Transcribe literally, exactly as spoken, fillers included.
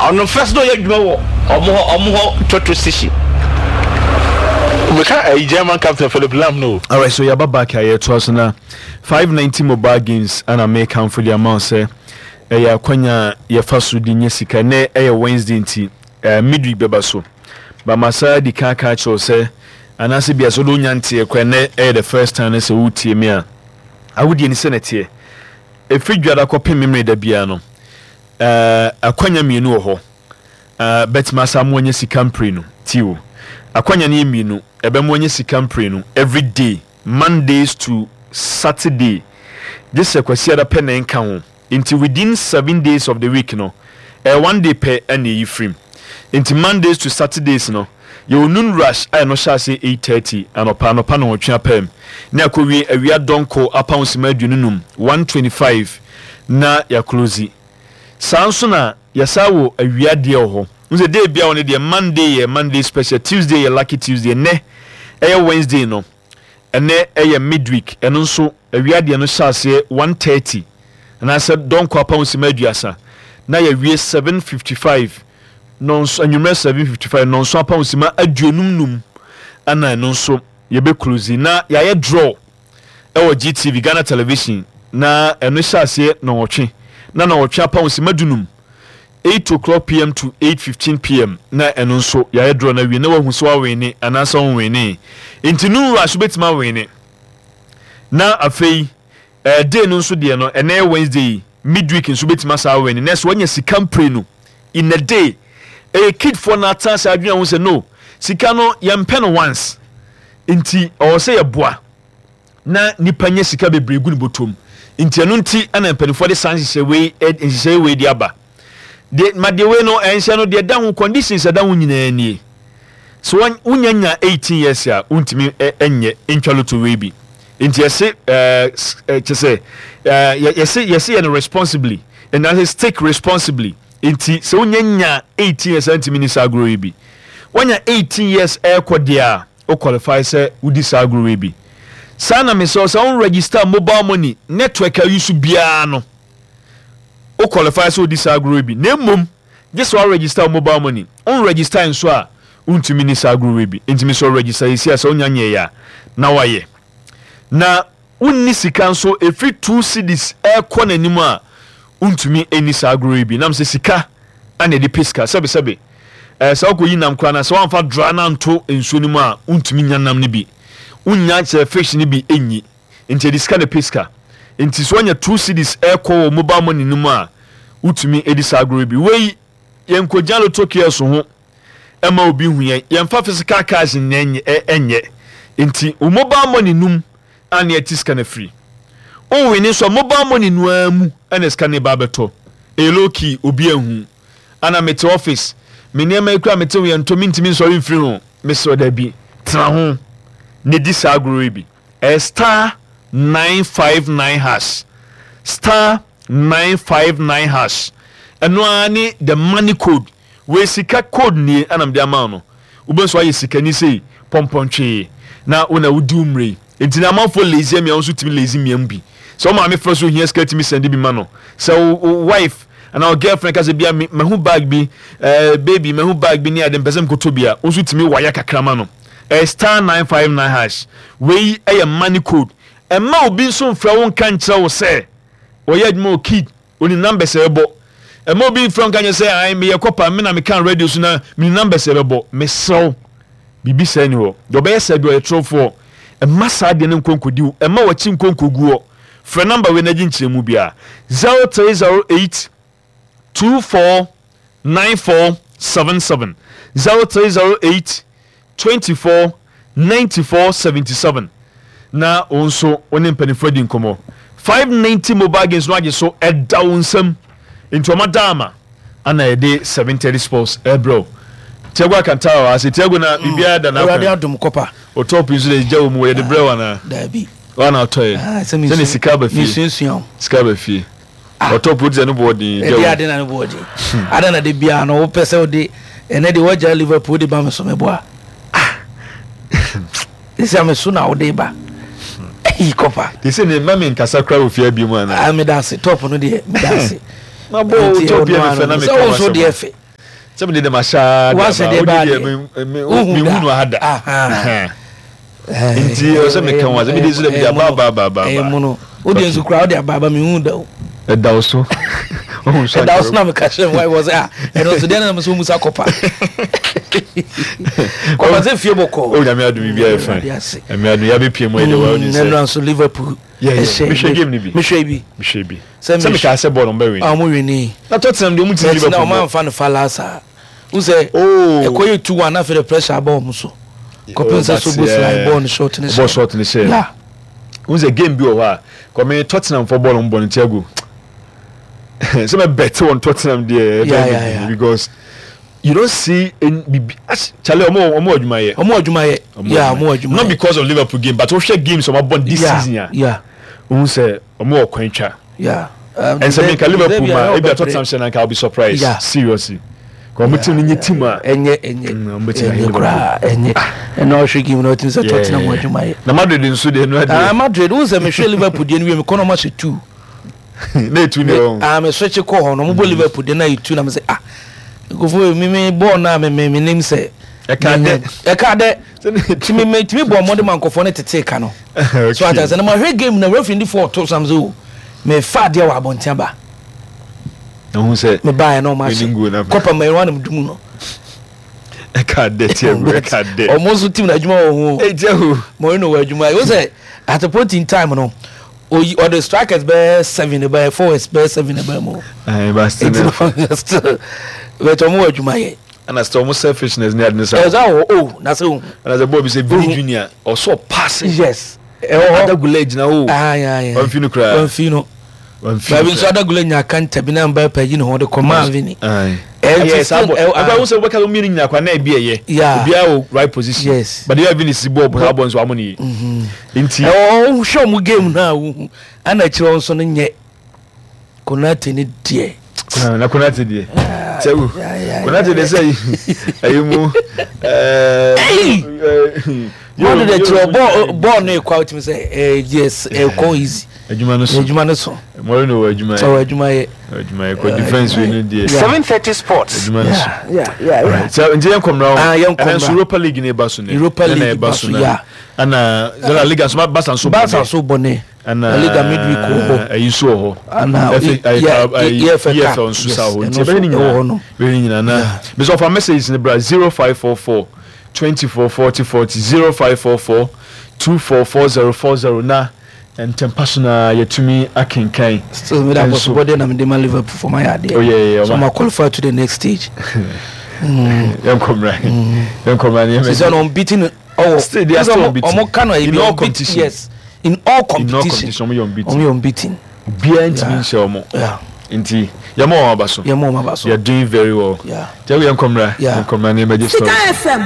Ɔno first na ɔyɛ adwuma wɔ ɔmo hɔ ɔmo hɔ petrol station. Meka ɛyi German captain Philipp Lahm no. Alright, so yɛaba back a yɛtoa so na five ninety mobile games ana mekamfo de ama wo sɛ ɛyɛ akwanya a yɛfa so de nya sika. Nɛ ɛyɛ Wednesday nti uh, midweek bɛba so, but masa di kan ka kyerɛw sɛ anaasɛ bia sɛ wode wonya nteɛ kora, nɛ ɛyɛ the first time no sɛ wotie me a, awodie ni sɛ ne teɛ ɛfiri dwada kɔpem memmerɛ da biara no, uh, akwanya mmienu wɔ hɔ uh, bɛtumi asa mo anya sika mprenu tio. Akwanya no yɛ mmienu, ɛbɛmo anya sika mprenu every day, Mondays to Saturday, gye sɛ Kwasiada pɛ na ɛnka ho. Nti within seven days of the week no, ɛyɛ one day pɛ ɛna ɛyi firim. Nti Mondays to Saturdays no, yɛwɔ noon rush a ɛno hyɛ ase eight thirty anɔpa anɔpa na wɔtwe apɛm ne akɔwie awia dɔnko apound sima aduonu num, one twenty five, na yɛa close. Saa nso na yɛsa wɔ awia deɛ wɔ hɔ n sɛ day bia wɔ no deɛ, Monday yɛ Monday special, Tuesday yɛ Lucky Tuesday. Nnɛ ɛyɛ Wednesday no, ɛnɛ ɛyɛ midweek. Ɛno nso awia deɛ no hyɛ aseɛ one thirty anaasɛ dɔnko apound sima aduasa na yɛwie seven fifty five nɔnso anwummerɛ, seven fifty five nɔnso apound sima aduonum num, ɛna ɛno nso yɛbɛ close na yɛayɛ draw ɛwɔ G T V, Ghana Television, na ɛno hyɛ aseɛ nɔwɔtwe na nɔwɔtwe apound sima dunum, eight o'clock p m to eight fifteen p m, na ɛno nso yɛayɛ draw na wie na wahu sɛ wa win anaasɛ wɔn win. Nti noon rush wobɛtumi a win, na afei ɛɛ day no nso deɛ no, ɛnɛ yɛ Wednesday, midweek nso wobɛtumi asa a win. Na ɛsɛ wɔanya sika mprenu in a day. Ɛyɛ kidfoɔ na atena ase adwene ho sɛ no sika no yɛmpɛ no once, nti ɔwɔ sɛ yɛboa na nipa nya sika bebree gu ne bɔtɔm. Nti ɛno nti ɛna mpanimfoɔ de saa nhyehyɛ wei nhyehyɛ wei de aba deɛ ma deɛ wei no ɛnhyɛ no deɛ da ho conditions ɛda ho nyinaa nie. So wɔn wonya nya eighteen years a, wontumi ɛnyɛ ntwa lotto wei bi. Nti yɛse ɛɛ kyɛ sɛ ɛɛ yɛse yɛse yɛ no responsibly ɛna sɛ stake responsibly. Nti sɛ wonya nya eighteen years a, ntumi ni saa agorɔ yi bi. Wonya eighteen years ɛɛkɔ deɛ a, o qualify sɛ wodi saa agorɔ yi bi. Saa na mesɛ sɛ wo register mobile money network a use biara no, o qualify sɛ wodi saa agorɔ yi bi. Na mmom gye sɛ wa register mobile money. On register nso a, wontumi ni saa agorɔ yi bi. Nti mesɛ register yɛsi a sɛ wonya nyɛ yɛ a na wayɛ na wonni sika nso ɛfiri two cedis ɛrekɔ n'anim a, wontumi ɛni saa agorɔ yi bi. Nam sɛ sika ana ɛde pɛ sika sɛbesɛbe ɛɛ sɛ wokɔyi nam koraa na sɛ woamfa dra no anto nsuo no mu a, wontumi nya nam no bi, wonya kyerɛ fish no bi ɛnyi. Nti ɛde sika na pɛ sika. Nti sɛ woanya two cedis ɛrekɔ wɔ mobile money no mu a, wotumi ɛdi saa agorɔ yi bi. Wei yɛnkɔgyina lotto kiosk ho ɛma obi hu yɛn, yɛmfa physical cash nyɛ ɛnyɛ. Nti wo mobile money num a ne ɛte sika no afiri wo win nso, mobile money no ara mu ɛna sika no ba abɛtɔ. Ɛyɛ low key, obi ahu ana mete office, me nneɛma yi kura mete ho, yɛn ntɔ mintimi nsɔre mfiri ho. Mesrɛ dabi, tena ho na di saa agorɔ yi bi. Ɛyɛ star nine five nine hash, star nine five nine hash. Ɛno ara ne the money code. Wei sika code nie ɛna mede ama no. Wobɛn so ayɛ sikani sei pɔmpɔntwee na wo na wodi wo mmerɛ yi. Nti na amanfoɔ lazy mmea nso tumi lazy mmea mu bi sɛ wo maame frɛ so ohia sika, tumi send bi ma no. Sɛ wo wife anaa wo girlfriend ka sɛ bia mahu bag bi, ɛɛ baby, mahu bag bi ne ade mpɛ sɛ mkoto bi a, wo nso tumi wayɛ kakra ma no. Ɛyɛ star nine five nine hash. Wei ɛyɛ money code. Ɛma obi nso mfrɛ wo nka nkyerɛ wo sɛ ɔyɛ adwuma wɔ kid oni numbers ɛbɔ. Ɛma obi mfrɛ wo nka nyɛ sɛ ayi meyɛ kɔpa me na meka radio so na mene numbers ɛbɛbɔ. Mesrɛw, biribi sɛ ni hɔ deɛ ɔbɛyɛ sɛ bi ɔyɛ torofoɔ. Ɛma saa deɛ no nkonkodi wo, ɛma wɔkyi nkonkogu hɔ. Frɛ number wei na gye nkyerɛmu biara: zero three zero eight two four nine four seven seven, zero three zero eight twenty four ninety four seventy seven, na wo nso wo ne mpanimfoɔ adi nkɔmmɔ. five ninety mobile games no agye so ɛda wo nsam. Nti ɔma da ama ana yɛde seven thirty sports ɛbrɛ Tiago Alcantara wɔ ase. Tiago, na biribiara da n'akwan? Awurade adom, kɔpa. O top nso de gya wɔ mu, yɛde brɛ wo anaa? Daabi. Wana ɔtɔ yɛ sɛne sika ba fie. Mesuasua o. Sika ba fie, ɔtɔ po sɛ ne boɔ den gya ɛde ade na ne boɔ den ada na de biara no wopɛ sɛ wode ɛnɛ de woagya Liverpool de ba me so meboa ɛsɛ me so na wode ba ɛyi kɔpa. Te sɛ ne mma me nkasa kora wɔ fie abie mu anaa? Ah, meda ase. Top no deɛ, meda ase. Mabɔ wo top yɛ me fɛ na meka. Sɛ wo nso deɛ fɛ. Sɛ mede dem ahyɛ Wahyɛ deɛ baa deɛ. Wohu da. mehu no ha da. Aha. Nti ɛwɔ sɛ meka ho asɛm. Mede nso dɛ mede aba aba aba aba Ɛyɛ aba. mu no, wode nso koraa wode aba aba, mehu da o. Ɛda wo so. Wohu nso. Ɛda wo so na meka kyerɛ me wife wɔ sɛ, ah, ɛno nso deɛ na mesɛ womu sa kɔpa kɔpa sɛ fie bɔkɔɔ. O, Nyame adom, biribiara yɛ fine. Awurade ase. Nyame adom, yɛabɛpie mu ɛdeɛ wa wonim ɛnura sɛ nso Liverpool Yeah, yeah. ɛhyɛ. Mehwɛ game no bi. Mehwɛ bi. Mehwɛ bi. Sɛ sɛ mehwɛ- mekaa sɛ bɔɔl no ɔmbɛwin. A ɔmo win. Na Tottenham deɛ, ɔmu timi na Liverpool ɔmo bɔ. amfa no fa last a n sɛ Oh. ɛkɔ yɛ two one, afei de pressure aba ɔmo so kɔpem sɛ Oh, so that's- bo slide yeah. bɔɔl no short ne. Bɔɔl short ne hyɛ. Yeah. Wohu sɛ game bi wɔ hɔ a kɔme Tottenham fɔ bɔɔl no mbɔ no Tiago, sɛ mɛbɛte wɔn Tottenham deɛ, Yeah, yeah, yeah. because you don't see any bibi as chale, ɔmo ɔmo adwuma yɛ. Ɔmo adwuma yɛ, yeah, ɔmo adwuma Not yɛ. because of Liverpool game, but wohwɛ games ɔmo abɔ this yeah, season a, yeah wohu sɛ ɔmo wɔ kwan twa. yeah um, And sɛ menka Liverpool ma ebi a ɔbɛbrɛ. Tottenham hyɛ nanka, I'll be surprised. Yeah. Seriously, kɔ ɔmo team no nye team a ɛnyɛ ɛnyɛ Mm, ɔmo bɛtumi ɛnyɛ ahɛ koraa, ɛnyɛ. Ɛna ɔhwɛ game na ɔtumi sɛ Tottenham wɔ adwuma yɛ. Na Madrid nso deɛ no Ah, adeɛ. Madrid, wo sɛ mehwɛ Liverpool deɛ no wie, mekɔ na ɔmo ahyɛ two. Na etu ne wɔn. Ah, me switch kɔ hɔ no, ɔmo bɔ Liverpool deɛ na yɛ two, na me sɛ, ah, nkɔfo mi mi bɔɔl na me me me nim sɛ Ɛka dɛ. Ɛka dɛ. Sɛ ne etu. Tumi me tumi bɔ ɔmɔde ma nkɔfoɔ ne tete ka no so ata sɛ na ma hwɛ game na referee ndi fɔ ɔto sam sɛ o me fa adeɛ wɔ abɔnten aba. Na hu sɛ Me baayɛ na ɔmo Winning goal na- ahyɛ kɔpa mɛrin wa na me dum no. Ɛka dɛ, Tiago, ɛka dɛ. Ɔmo nso team na adwuma wɔ ho. Ee, Tiago. Mourinho wɔ adwuma yi o, sɛ at a point in time no, oyi ɔde strikers bɛyɛ seven bɛyɛ, forwards bɛyɛ seven bɛyɛ mu. Ɛɛ ba still. Nti no still, but ɔmo wɔ adwuma yɛ. Ɛna still ɔmo selfishness ne ade ne sa. Ɛsɛ wɔ o na sɛ o. Ɛna sɛ bɔɔl bi sɛ Vini Ohu. Junior ɔsɔ pass. Yes, ɛwɔ hɔ. Arda Guler gyina o. Ayi ayi. Ɔnfi no koraa. Ɔnfi no. Ɔnfi Baabi nso Arda Guler nya kanta bi na Mbappe yi ne ho de kɔmaa Vini. Ayi. Ɛnti Ɛyɛ saa still bɔ. ɛwɔ. Akɔ ahosuo bɛka mmienu nyina kwa na ebi ɛyɛ. Yeah. Obiara wɔ right position. Yes. But the Vini si bɔɔl saa bɔɔl nso amo ne yie. Nti. Ɛwɔ hɔ, hwɛ ɔmo game no a wohu ana akyerɛ wɔn nso no nyɛ Konate ne deɛ. Na Konate deɛ, Tiago, yeah, yeah, Konate deɛ sɛ ɛyi mu Hey! ɛɛ. Bɔɔl de kyerɛ bɔɔl bɔɔl no ekɔ a wotumi sɛ ɛɛ yes, ɛkɔ easy. Adwuma no so. Adwuma no so. Mourinho wɔ adwuma yɛ. Ɔwɔ adwuma yɛ. Adwuma yɛ kɔ defence wei no deɛ. Yeah. Seven thirty Sports. Adwuma no so. yeah yeah yeah Sɛ nti yɛn kɔmra. Ah, yɛn ɛnɛ nso kɔmra. Europa League ne ba so ne. Europa Ɛna League ɛba ba so so, na yeah. Ɛna La Liga nso, Barca nso bɔ Barca ne. nso bɔ ne. Ɛna La Liga midweek wɔ hɔ. Ɛyi nso wɔ hɔ. Ana F A yeah, ayi E F L Cup. E F L nso Yes, sa hɔ. ɛno Nti ɛbɛyɛ ne nso ɛwɔ hɔ nyinaa no. bɛyɛ ne nyinaa na bisɛ ɔfa message ne bra zero five four four twenty four forty forty, zero five four four two four four zero four zero, na ntɛmpa so na yɛtumi akenkan. Still mi da bɔ so Ɛnso- bɔdeɛ na mi de ma Liverpool for my adeɛ. Oh, yeah, yeah, So ɔma. ma qualify to the next stage. Yɛnkɔmmra, yɛnkɔmmra ne Sisi ɔno unbeaten ɔwɔ. Still, they are still unbeaten. Ɔmo kano In ebi all unbeaten. competition. Yes, in all In all competition. competition ɔmo yɛ unbeaten. Ɔmo yɛ unbeaten. Obiara ntumi Yeah. nhyɛ ɔmo. Yeah. Nti yɛma wɔn aba so. Yɛ mo ɔmo aba so. They are doing very well. Yeah. Tiago, yɛnkɔmmra. Yeah. Yɛnkɔmmra ne emerging Sika stories. F M.